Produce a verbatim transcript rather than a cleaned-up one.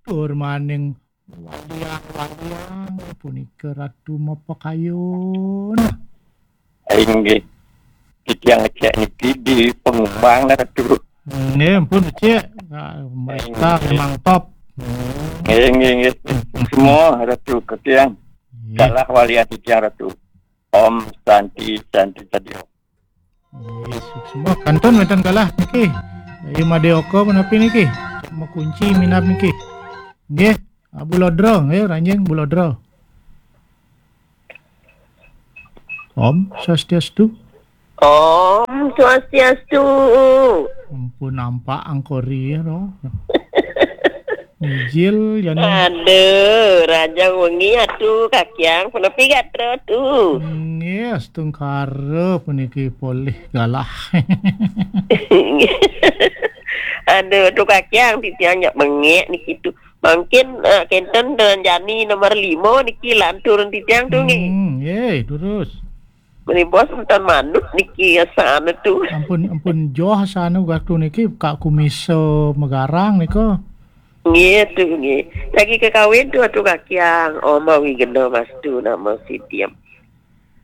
Tur maning waliang-waliang punika Ratu mapakayun. Inggih. Titiang ngecek niki di Pengembang, Ratu. Nggih, ampun, Cik. Nah, mereka Inggih. Memang top. Nggih, nggih, nggih. Semua, Ratu Ketiang. Nggih. Galah walian titiang, Ratu. Om Santi, Santi Sadio. Nggih, semua kantun wénten galah niki. Ayu Madeoka menapi niki? Makunci minab niki. Nggih, Abu Lodro, nggih, Ranjing Abu Lodro. Om Swastiastu. Om Swastiastu. Ampun nampak angkori ya, no. Mijil ya, no. Aduh, raja wengi atu kakiang, punapi gatra tu. Nggih, astungkara puniki polih galah. Aduh, tu kakiang titiang nyak bengek niki tu. Mungkin uh, kenten dengan Jani nomor lima niki lantur titiang tu nggih. Hmm, nggih, terus. Meni bos enten manut niki asana tu. Ampun, ampun joh asana gatu niki Kak Kumisa Megarang nika. Nggih tu nggih. Lagi kekawin tu atu kakiang Oma Wigena Mastu nama Sidiam.